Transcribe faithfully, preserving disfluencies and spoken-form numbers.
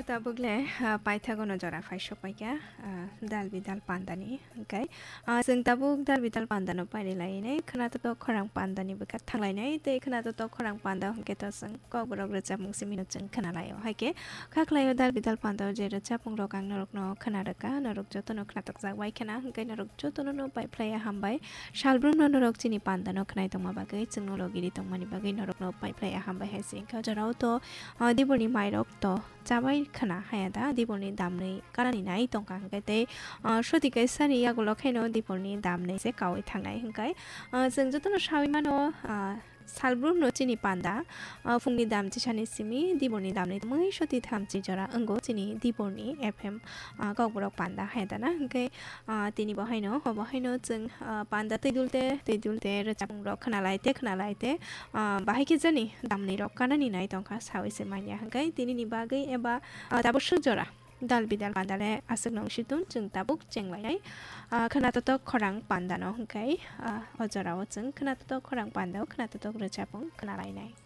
Tabuk le, ah, paithago no jora phai sok paikha, ah, dal bidal pandani, hwnkhe, ah, chwng tabuk dal bidal pandano pairi lainai, khwnatok khorang pandani bwkha thanglainai, tei khwnatok khorang panda hwnkhe to chwng kokborok rwchapmung simi no chwng khwnalaio. Haikhe kha khlaio dal bidal pandao je rwchapmung rok ang norokno khwna rwkha, norok jotono khwnatok jak bai khwna, hwnkhe norok jotono no pai phlaiya hambai. Salbrumno norok chini pandano khwnai tongma bagwi, chwngno logiri tongmani bagwi norokno pai phlaiya hambai hai se wngkha. O jorao to, ah, diborni mairok to chabai khwna haya da, diborni damnwi kanani nai tongkha hwnkhe tei, ah, soti kaisani yagulo khaino diborni damnwi se kaui thangnai hwnkhe, ah, chwng jotono saui mano, ah, salbrumno chini panda, ah, phungni dam chisani simi diborni damnwi mui soti thamchi jora wngo chini diborni F M, ah, kokborok panda haya da na hwnkhe, ah, tini bo haino, obo haino chwng, ah, panda twi dulte, twi dulte rwchapmung rok khwnalai te, khwnalai te, ah, bahai khe jani damni rok kanani nai tongkha saui se manya hwnkhe tini ni bagwi eba, ah, tabuk suk jora dal bidal panda le aswk nong si tun chwng tabuk chenglainai, ah, khwnatok khorang panda no hwnkhe, ah, o jorao chwng khwnatok khorang panda o khwnatok rwchapmung khwnalainai.